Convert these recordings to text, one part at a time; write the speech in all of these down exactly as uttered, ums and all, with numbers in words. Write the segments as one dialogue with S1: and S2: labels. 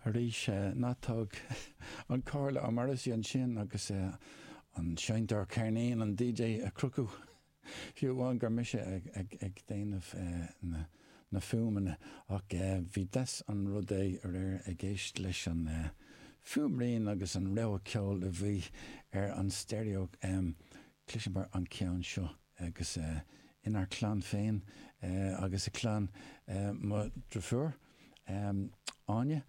S1: Arís ná tóg an comhairle ó Morrissey ansin agus an seinnteoir ceirnín an DJ a chrochadh fiú amháin gur mise ag, ag, ag déanamh na, na fuaimeanna ach bhí deas an rud é aréir ag éisteacht leis an fuaimrian agus an rogha ceoil a bhí ar an stereo um, Cloisimid an ceann seo agus uh, inár clann féin uh, agus a clann uh, mo dheirfiúr um, Áine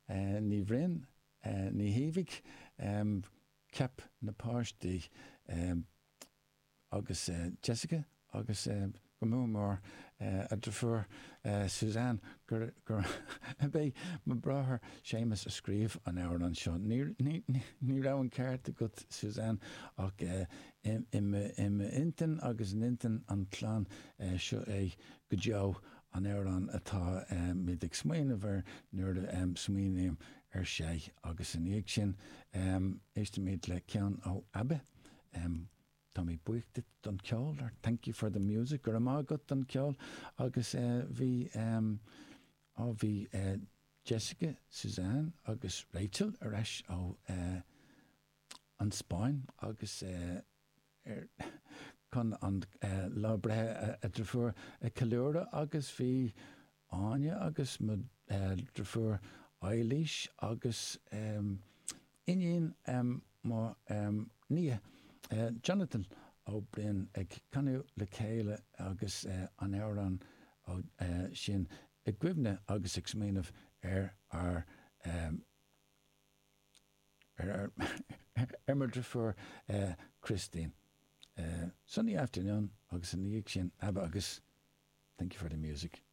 S1: uh, Ní Bhroin uh, Ní Thaobhaigh um, cheap na páistí um, agus uh, Jessica agus uh, go mór mór uh, a deirfiúr uh, Suzanne gur gur b'é mo bhráthair Séamus a scríobh an amhrán seo. Ní, ní, ní raibh an ceart agat Suzanne ach uh, intinn agus in intinn an clann uh, seo é go deo an amhrán atá um, mé ag smaoineamh air nuair um, smaoiním ar sé agus ina dhiaidh sin um, éistimid le ceann ó ABBA. Um, Tá mé buíoch duit don ceol or thank you for the music gur amá go don ceol agus uh, bhí um, ó bhí uh, Jessica, Suzanne agus Rachel ar ais ó uh, an Spáin agus uh, er, chun an uh, lá breithe a deirfiúr a cheiliúradh agus bhí Áine agus mo uh, deirfiúr Eilís agus um, iníon um, mo um, nia uh, Jonathan Ó Broin ag canadh le chéile agus uh, an amhrán ó uh, sin i gcuimhne agus ag smaoineamh ar ar um, ar ar ar mo deirfiúr uh, Christine. Uh, Sunny afternoon agus ina dhiaidh sin ABBA agus thank you for the music.